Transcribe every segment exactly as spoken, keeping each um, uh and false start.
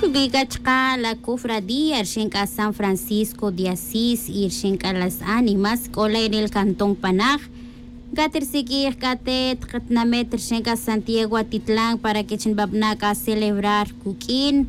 Ruq'ui c'a chka' la cofradía rixin c'a san francisco de asís y rixin c'a las ánimas c'o la en el cantón panaj. Catirsiq'uij c'a te tketinamit rixin c'a santiago atitlan para que chi nbabna' c'a celebrar cuq'uin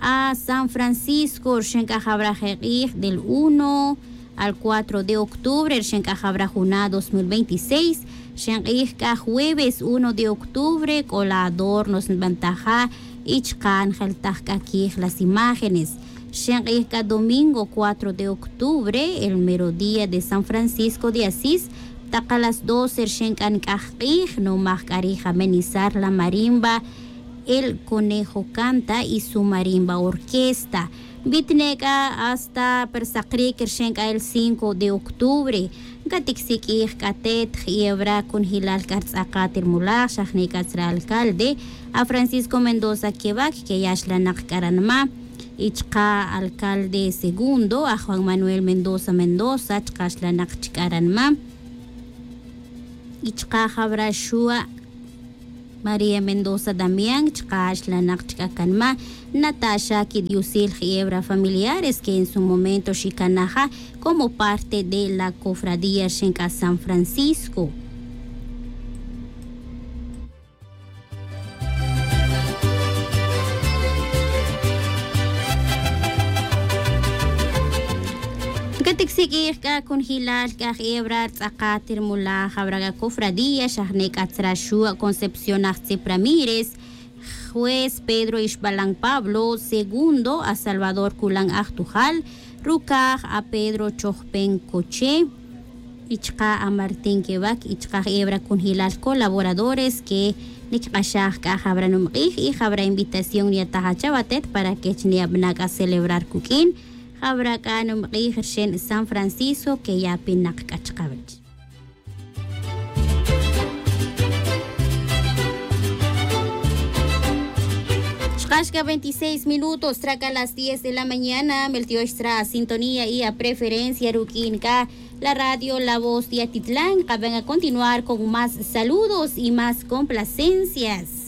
a san francisco rixin c'a jawra je k'ij del uno al cuatro de octubre rixin c'a jawra juna' dos mil veintiséis. Rixin k'ij c'a jueves uno de octubre c'o la adornos nbantaja' y chka' njeltaj c'a quij las imágenes. Rixin k'ij c'a domingo cuatro de octubre el merodía de san francisco de asís. Tak a las doce rixin c'a nc'aj k'ij numaj c'a rij amenizar la marimba el conejo canta y su marimba orquesta. Bitine' c'a hasta per sakric rixin c'a el cinco de octubre. Caticsiq'uij c'a te tjiyewra cunjilal c'a rtz'akat ri mulaj xajni c'a tzra alcalde a francisco mendoza quevac que ya xlanak c'a ranma'. Y chka' alcalde segundo a juan manuel mendoza mendoza chka' xlanak chka' ranma'. Y chka' jawra xu' maría mendoza damián chka' xlanak chka' canma'. Nataxa quidiosil jiyewra familiares que en su momento xicanaja como parte de la cofradía rixin c'a san francisco. Caticsiq'uij c'a cunjilal c'a jebra rtz'akat ri mulaj jawra c'a cofradía xajne c'a tzra xu' concepción ajtzip ramírez, juez pedro ixbalan pablo segundo a salvador culan ajtujal, rucaj a pedro chojpen coche y chka' a martín quevac y chka' jebra cunjilal colaboradores que niquik'axaj c'a jawra numk'ij y jawra invitación niyataj achaw atet para que chi niyabana' c'a celebrar cuq'uin. Jawra c'a numk'ij rixin san francisco que yapinak c'a chkawech. Xkax c'a veintiséis minutos tzra c'a las diez de la mañana meltiox tzra a sintonía y a preferencia ruq'uin c'a la radio la voz de atitlan. Kaben a continuar con más saludos y más complacencias.